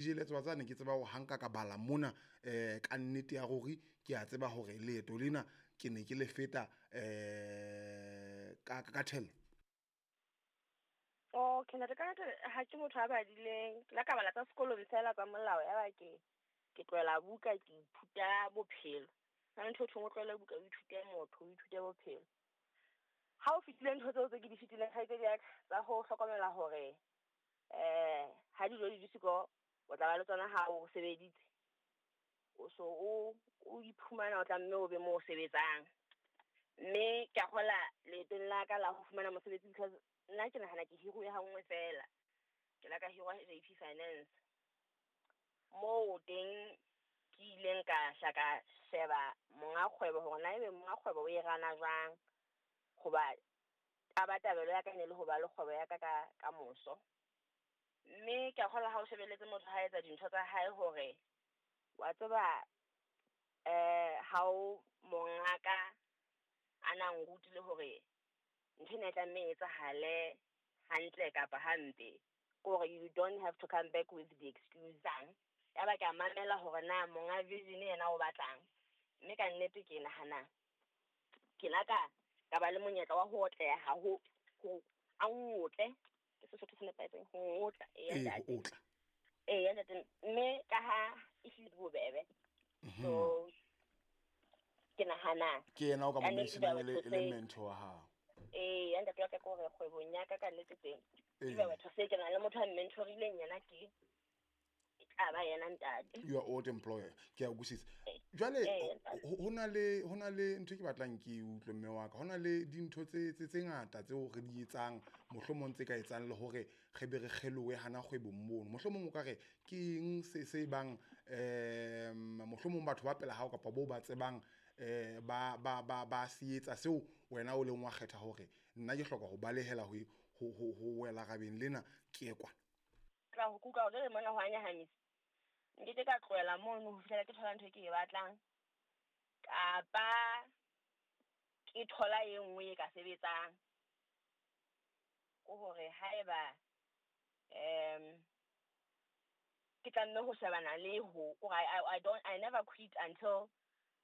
Jele tswa tsane ke tseba hore ha nka ka bala mona ka nnete ya ruri ke a tseba hore leeto lena ke ne ke le feta ka thello. Okay, ntate, ka nnete ha ke motho a badileng. Ke la ka bala tsa sekolong fela tsa molao, ya ba ke tlohela buka, ke ithuta bophelo. Hona le ntho e thweng o tlohele buka, o ithute motho, o ithute bophelo. Ha o fetile ntho tseo tse ke di fetileng, kgaitsedi ya ka, tsa ho hlokomela hore ha dijo di le siko, o tla ba le tsona ha o sebeditse. O so o iphumana o tlamme o be mo o sebetsang. Mme ke a kgola leetong la ka la ho fumana mosebetsi, because nna ke nahana ke hiruwe ha nngwe fela. Ke la ka hirwa JP Finance. Moo teng ke ileng ka hla ka sheba monga kgwebo hore na ebe monga kgwebo o e rana jwang. Hoba tabatabelo ya ka ne le ho ba le kgwebo ya ka ka moso. Mme ke a kgolwa ha o shebelletse motho ha etsa dintho tsa hae hore wa tseba ha o mongaka a na nrutile hore ntho ena e tlameha e etsahale hantle kapa hampe, ke hore you don't have to come back with the excuse. Ya ba ke a mamela hore na monga vision yena o batlang. Mme ka nnete ke nahana ke la ka ba le monyetla wa ho otleha ho a ngotle, ke Sesotho se nepahetseng, ho otla, ee, ntate. Ho otla. Ee, ntate, mme ka ha e hlile bobebe. So ke nahana ke yena o ka mo ka nnete mentionang batho e le mentor wa hao. Ee, ya ntate wa ka, ke hore kgwebong ya ka ka nnete teng ebe batho se ke na le motho a mentorileng yena, ke e tla ba yena ntate. Your old employer, ke a utlwisisa. Jwale ho na le ntho e ke batlang ke e utlwe, mme wa ka. Ho na le dintho tse ngata tseo re di etsang, mohlomong tse ka etsang le hore re be re kgelohe hana kgwebong mono. Mohlomong o ka re ke eng se bang mohlomong batho ba pela hao kapa bo ba tsebang ba se etsa seo wena o leng wa kgetha hore nna ke hloka ho balehela ho wela rabeng lena ke ye kwana. Tla ho kuka hore jwale mona ho a nyahamisa. Nkeke ka tlohela mono ho fihlela ke thola ntho e ke e batlang, kapa ke thola e nngwe e ka sebetsang. Ke hore haeba ke tlamme ho shebana le ho kore I don't, I never quit until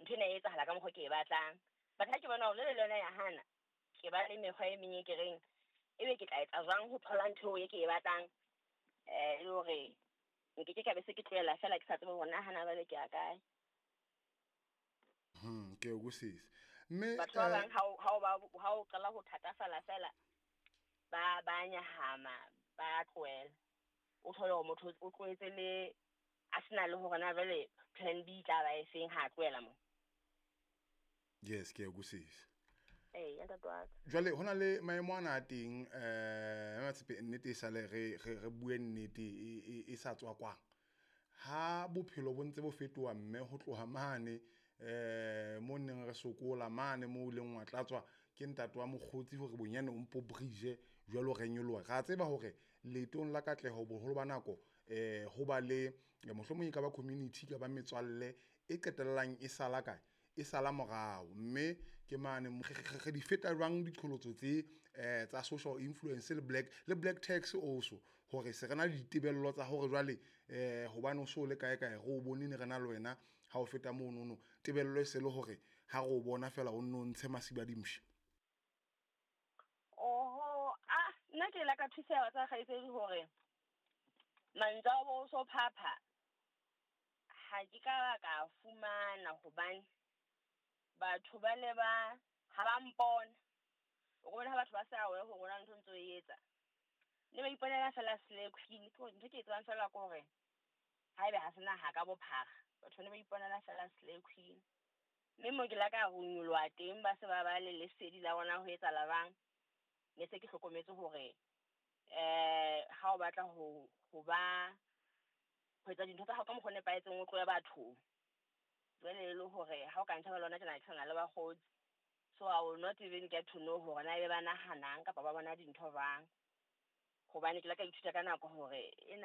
ntho ena e etsahala ka mokgwa ke e batlang. But ha ke bona hore jwale le yona ya hana, ke ba le mekgwa e meng e ke reng ebe ke tla etsa jwang ho thola ntho eo e ke e batlang, le hore nkeke ka be se ke tlohela fela ke sa tsebe hore na hana jwale ke ya kae. Ke o utlwisisa, mme Batho ba bang ha o qala ho thatafala fela, ba nyahama, ba tlohela. O thole hore motho o tlohetse le a sena le hore na jwale plan B tla ba e feng ha a tlohela mo. Yes, ke a utlwisisa. Ee, ntate wa ka. Jwale ho na le maemo ana a teng, Matshepe, nnete e sale re bue nnete e sa tswakwang. Ha bophelo bo ntse bo fetoha, mme ho tloha mane mo neng re sokola mane mo ileng wa tlatswa ke ntate wa mokgotsi hore bonyane o mpo bridge, jwalo re nyoloha, ra tseba hore leetong la katleho boholo ba nako ho ba le mohlomong e ka ba community, ka ba metswalle e qetellang e sala kae, e sala morao. Mme ke mane re di feta jwang diqholotso tse tsa social influence le black tax also, hore se re na le ditebello tsa hore jwale hobane o so le kae kae, re o bone ne re na le wena ha o feta monono, tebello e se le hore ha re o bona fela o nno ntshe masiba dimshe? Oho, ah, nna ke la ka thuseha tsa kgaitsedi hore mantswe a bo so phapha ha ke ka ba ka fumana, hobane batho ba ne ba ha ba mpona, o bona ha batho ba sa aware hore hona ntho ntso e etsa, ne ba iponela fela slay queen. Ke hore ntho e ke e tsebang fela ke hore haebe ha se naha ka bophara, batho ne ba iponela fela slay queen. Mme mo ke la ka runyoloha teng, ba se ba ba le lesedi la bona ho etsahala jwang, ne se ke hlokometse hore ha o batla ho ba ho etsa dintho tsa hao ka mokgwa o nepahetseng, o tlohe bathong. Jwale e le hore ha o ka ntjheba le hona tjena, ke sana le bakgotsi, so I will not even get to know hore na ebe ba nahanang kapa ba bona dintho jwang, hobane ke la ka ithuta ka nako hore ena.